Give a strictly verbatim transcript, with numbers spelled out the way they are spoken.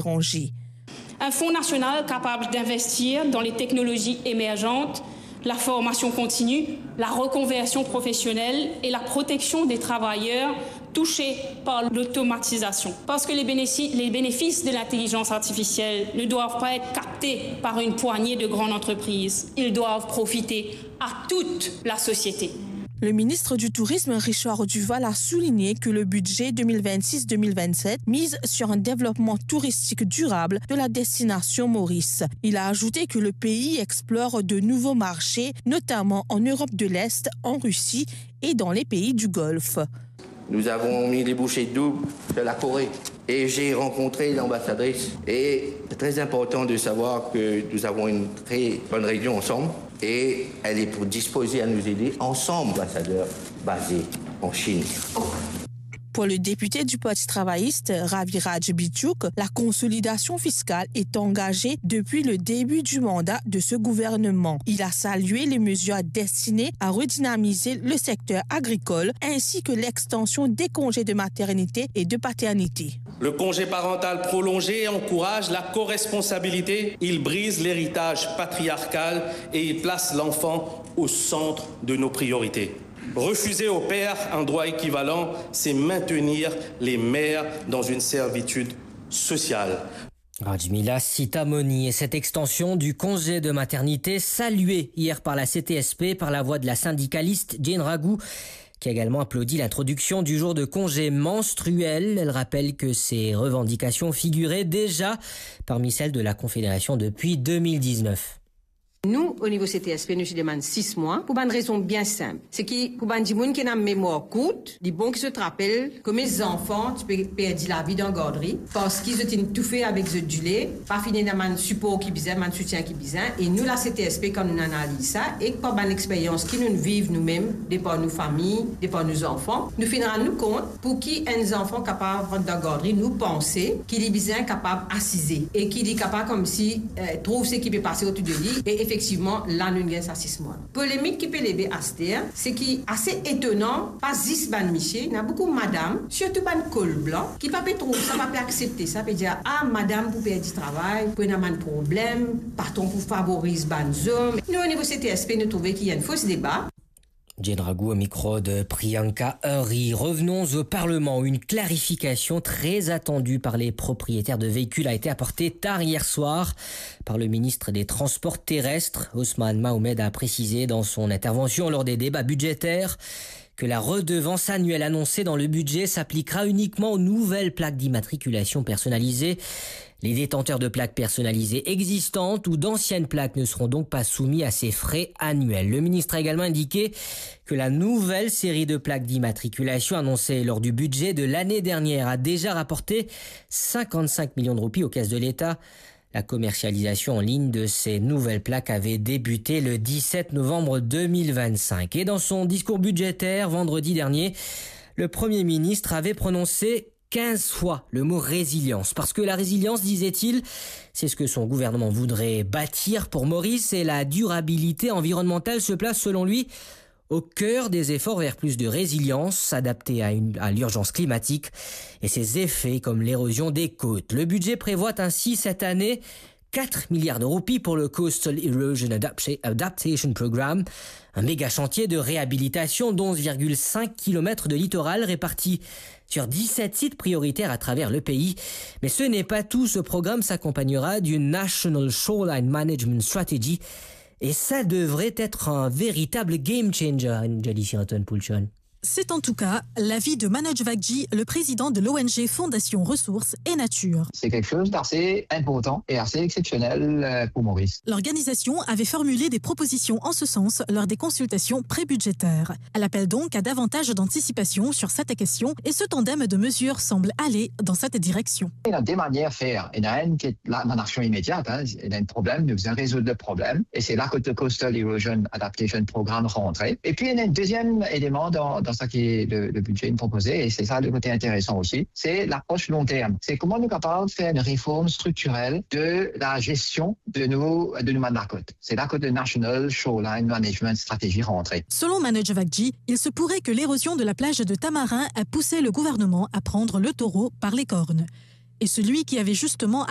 l'étranger. Un fonds national capable d'investir dans les technologies émergentes, la formation continue, la reconversion professionnelle et la protection des travailleurs touchés par l'automatisation. Parce que les bénéfici-, les bénéfices de l'intelligence artificielle ne doivent pas être captés par une poignée de grandes entreprises. Ils doivent profiter à toute la société. Le ministre du Tourisme, Richard Duval, a souligné que le budget deux mille vingt-six deux mille vingt-sept mise sur un développement touristique durable de la destination Maurice. Il a ajouté que le pays explore de nouveaux marchés, notamment en Europe de l'Est, en Russie et dans les pays du Golfe. Nous avons mis les bouchées doubles sur la Corée et j'ai rencontré l'ambassadrice. Et c'est très important de savoir que nous avons une très bonne réunion ensemble et elle est pour disposer à nous aider ensemble, ambassadeur basé en Chine. Pour le député du Parti travailliste, Raviraj Bichouk, la consolidation fiscale est engagée depuis le début du mandat de ce gouvernement. Il a salué les mesures destinées à redynamiser le secteur agricole ainsi que l'extension des congés de maternité et de paternité. Le congé parental prolongé encourage la co-responsabilité, il brise l'héritage patriarcal et il place l'enfant au centre de nos priorités. Refuser aux pères un droit équivalent, c'est maintenir les mères dans une servitude sociale. Rajmila Sitamoni et cette extension du congé de maternité saluée hier par la C T S P par la voix de la syndicaliste Jane Raghu, qui a également applaudi l'introduction du jour de congé menstruel. Elle rappelle que ces revendications figuraient déjà parmi celles de la Confédération depuis deux mille dix-neuf. Nou, o nivo C T S P, nou ti demann sis mwa pou bann rezon bien sinp. Se ki pou bann dimoun ki ena memwar kourt, li bon ki zot rapel kouma zanfan ti pe perdi lavi dan gardri, parski zot inn toufe avek zot dile, pa finn ena bann sipor ki bizin, bann soutien ki bizin. E nou, la C T S P, kan nou analiz sa, ek par bann experyans ki nou viv noumem, de par nou fami, de par nou zanfan, nou finn rann nou kont, pou ki enn zanfan kapav rant dan gardri, nou panse ki li bizin kapav asize e ki li kapav koumsi, eh, trouv seki pe pase otour de li. E efektivman, la nou gagn sa sis mwa. Polemik ki pe leve aster, se ki ase etonan, pa zis bann misie, ena boukou madam, sirtou bann kol blan, ki pa pe trouv sa, pa pe aksepte sa, pe dir, "Ah, madam pou perdi travay, pou ena bann problem, patron pou favoriz bann zom." Nou, o nivo C T S P, nou trouve ki enn fos deba. Jane Raghu au micro de Priyanka Hari. Revenons au Parlement. Une clarification très attendue par les propriétaires de véhicules a été apportée tard hier soir par le ministre des Transports terrestres. Ousmane Mahomed a précisé dans son intervention lors des débats budgétaires que la redevance annuelle annoncée dans le budget s'appliquera uniquement aux nouvelles plaques d'immatriculation personnalisée. Les détenteurs de plaques personnalisées existantes ou d'anciennes plaques ne seront donc pas soumis à ces frais annuels. Le ministre a également indiqué que la nouvelle série de plaques d'immatriculation annoncée lors du budget de l'année dernière a déjà rapporté cinquante-cinq millions de roupies aux caisses de l'État. La commercialisation en ligne de ces nouvelles plaques avait débuté le dix-sept novembre deux mille vingt-cinq. Et dans son discours budgétaire vendredi dernier, le Premier ministre avait prononcé quinze fois le mot résilience, parce que la résilience, disait-il, c'est ce que son gouvernement voudrait bâtir pour Maurice, et la durabilité environnementale se place, selon lui, au cœur des efforts vers plus de résilience, s'adapter à une, à l'urgence climatique et ses effets comme l'érosion des côtes. Le budget prévoit ainsi cette année quatre milliards de roupies pour le Coastal Erosion Adapta-, Adaptation Programme, un méga chantier de réhabilitation d'onze virgule cinq kilomètres de littoral réparti sur dix-sept sites prioritaires à travers le pays. Mais ce n'est pas tout, ce programme s'accompagnera d'une National Shoreline Management Strategy et ça devrait être un véritable game changer, Anjali Sirton Pulchon. C'est en tout cas l'avis de Manoj Vagji, le président de l'O N G Fondation Ressources et Nature. C'est quelque chose d'assez important et assez exceptionnel, euh, pour Maurice. L'organisation avait formulé des propositions en ce sens lors des consultations pré-budgétaires. Elle appelle donc à davantage d'anticipation sur cette question et ce tandem de mesures semble aller dans cette direction. Il y a deux manières de faire. Il y en a une qui est la, dans l'action immédiate, hein. Il y a un problème, nous devons résoudre le problème. Et c'est là que le Coastal Erosion Adaptation Programme rentrait. Et puis, il y a un deuxième élément dans, dans ce qui est le, le budget proposé, et c'est ça le côté intéressant aussi, c'est l'approche long terme. C'est comment nous sommes capables de faire une réforme structurelle de la gestion de nos, de nos mans de la côte. C'est là que le National Shoreline Management Strategy rentrait. Selon Manoj Vagji, il se pourrait que l'érosion de la plage de Tamarin a poussé le gouvernement à prendre le taureau par les cornes. Et celui qui avait justement